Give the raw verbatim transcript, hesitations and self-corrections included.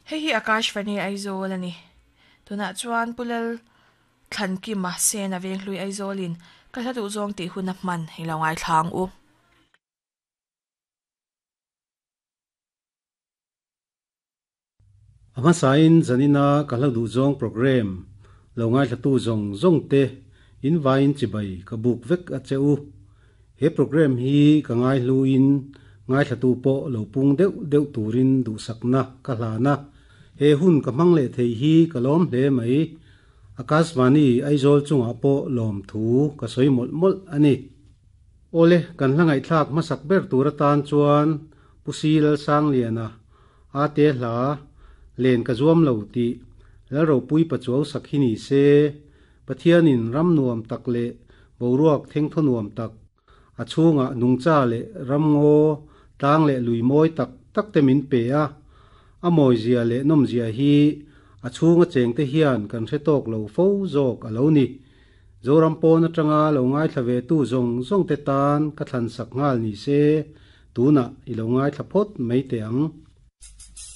Hei hi Akashvani Aizawl ani. Tunah chuan Pulal Thlankima Sena Venghlui Aizawlin ka hla duh zawng tih hun a hman i lo ngaithlang u. Ama sain zanina ka hla duh zawng program lo ngaithla tu zawng zawng te in vain chibai ka buk vek a che u. He program hi ka ngai hluin ngaithla tu pawh lo pung deuh deuh turin duh sakna ka hlana. He hun ka hmang leh thei hi ka lawm hle mai. Akashvani Aizawl chungah pawh lawm thu ka sawi mawlh mawlh ani. Ole kan hla ngaihthlak hmasak ber tur atan chuan Pusi Lal Sangliana a te hla len ka zuam lo ti lal ropui pachuau sakhi ni se Pathianin ram nuam tak le boruak theng tho nuam tak a chhunga nungcha le ramngaw tlang le lui mawi tak tak te min pe a a mawi zia le nawm zia hi a chhunga cheng te hian kan hre tawk lo fo zawk a lo ni. Zoram pawn atanga lo ngaithla ve tu zawng zawng te tan ka thlan sak nghal ni se tuna i lo ngaithla phawt mai te ang.